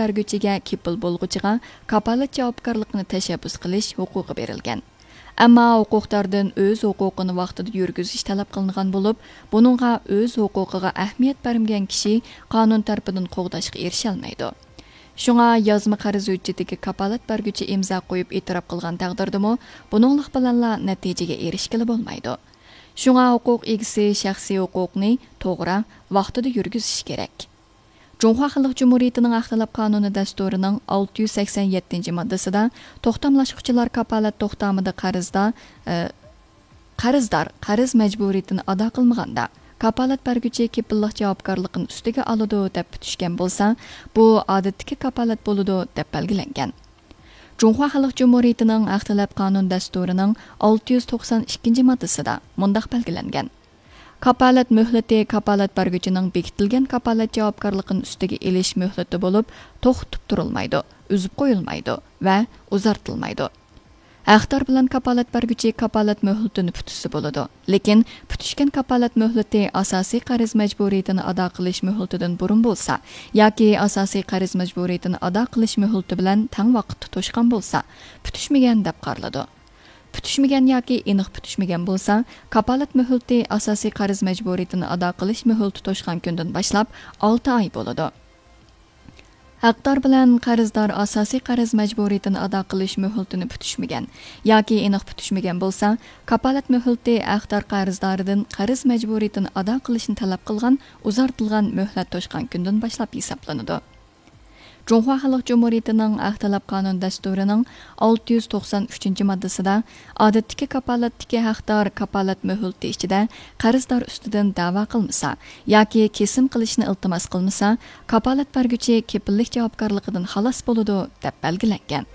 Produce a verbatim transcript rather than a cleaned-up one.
بەرگۈچىگە كېپىل بولغۇچىغا كاپالەت جاۋابكارلىقىنى تەشەببۇس قىلىش ھوقۇقى بېرىلگەن. ئەمما ھوقۇقداردىن ئۆز ھوقۇقىنى ۋاقتىدا يۈرگۈزۈش تەلەپ قىلىنغان بولۇپ، بۇنىڭغا ئۆز ھوقۇقىغا ئەھمىيەت بەرمىگەن كىشى قانۇن تەرىپىدىن قوغداشقا ئېرىشەلمەيدۇ. شۇڭا يازما قەرز ھۆججىتىگە كاپالەت بەرگۈچى ئىمزا قويۇپ ئېتىراپ قىلغان تەقدىردىمۇ، بۇنىڭلىق بىلەنلا نەتىجىگە ئېرىشكىلى بولمايدۇ. شۇڭا ھوقۇق ئىگىسى شەخسىي ھوقۇقنى توغرا، ۋاقتىدا يۈرگۈزۈشى كېرەك. جۇڭخۇا خەلق جۇمھۇرىيىتىنىڭ ھەق تەلەپ قانۇنى دەستۇرىنىڭ ئالتە يۈز سەكسەن يەتتىنچى ماددىسىدا توختاملاشقۇچىلار كاپالەت توختامىدا قەرزدار، ئە، قەرزدار قەرز مەجبۇرىيىتىنى ئادا قىلمىغاندا، كاپالەت بەرگۈچى كېپىللىق جاۋابكارلىقىنى ئۈستىگە ئالىدۇ دەپ پۈتۈشكەن بولسا، بۇ ئادەتتىكى كاپالەت بولىدۇ دەپ بەلگىلەنگەن. جۇڭخۇا خەلق جۇمھۇرىيىتىنىڭ ھەق تەلەپ قانۇن دەستۇرىنىڭ ئالتە يۈز توقسان ئىككىنچى ماددىسىدا مۇنداق بەلگىلەنگەن: كاپالەت مۆھلىتى كاپالەت بەرگۈچىنىڭ بېكىتىلگەن كاپالەت جاۋابكارلىقىنى ئۈستىگە ئېلىش مۆھلىتى بولۇپ، توختىتىپ تۇرۇلمايدۇ، ئۈزۈپ قويۇلمايدۇ ۋە ئۇزارتىلمايدۇ. ھەقدار بىلەن كاپالەت بەرگۈچى كاپالەت مۆھلىتىنى پۈتۈشسە بولىدۇ، لېكىن پۈتۈشكەن كاپالەت مۆھلىتى ئاساسىي قەرز مەجبۇرىيىتىنى ئادا قىلىش مۆھلىتىدىن بۇرۇن بولسا ياكى ئاساسىي قەرز مەجبۇرىيىتىنى ئادا قىلىش مۆھلىتى بىلەن تەڭ ۋاقىتتا توشقان بولسا، پۈتۈشمىگەن دەپ قارىلىدۇ. پۈتۈشمىگەن ياكى ئېنىق پۈتۈشمىگەن بولسا، كاپالەت مۆھلىتى ئاساسىي قەرز مەجبۇرىيىتىنى ئادا قىلىش مۆھلىتى توشقان كۈندىن باشلاپ ئالتە ئاي بولىدۇ. ھەقدار بىلەن قەرزدار ئاساسىي قەرز مەجبۇرىيىتىنى ئادا قىلىش مۆھلىتىنى پۈتۈشمىگەن ياكى ئېنىق پۈتۈشمىگەن بولسا، كاپالەت مۆھلىتى ھەقدار قەرزداردىن قەرز مەجبۇرىيىتىنى ئادا قىلىشنى تەلەپ قىلغان ئۇزارتىلغان مۆھلەت توشقان كۈندىن باشلاپ ھېسابلىنىدۇ. جۇڭخۇا خەلق جۇمھۇرىيىتىنىڭ ھەق تەلەپ قانۇن دەستۇرىنىڭ ئالتە يۈز توقسان ئۈچىنچى ماددىسىدا ئادەتتىكى كاپالەتتىكى ھەقدار كاپالەت مۆھلىتى ئىچىدە قەرزدار ئۈستىدىن دەۋا قىلمىسا ياكى كېسىم قىلىشنى ئىلتىماس قىلمىسا، كاپالەت بەرگۈچى كېپىللىك جاۋابكارلىقىدىن خالاس بولىدۇ، دەپ بەلگىلەنگەن.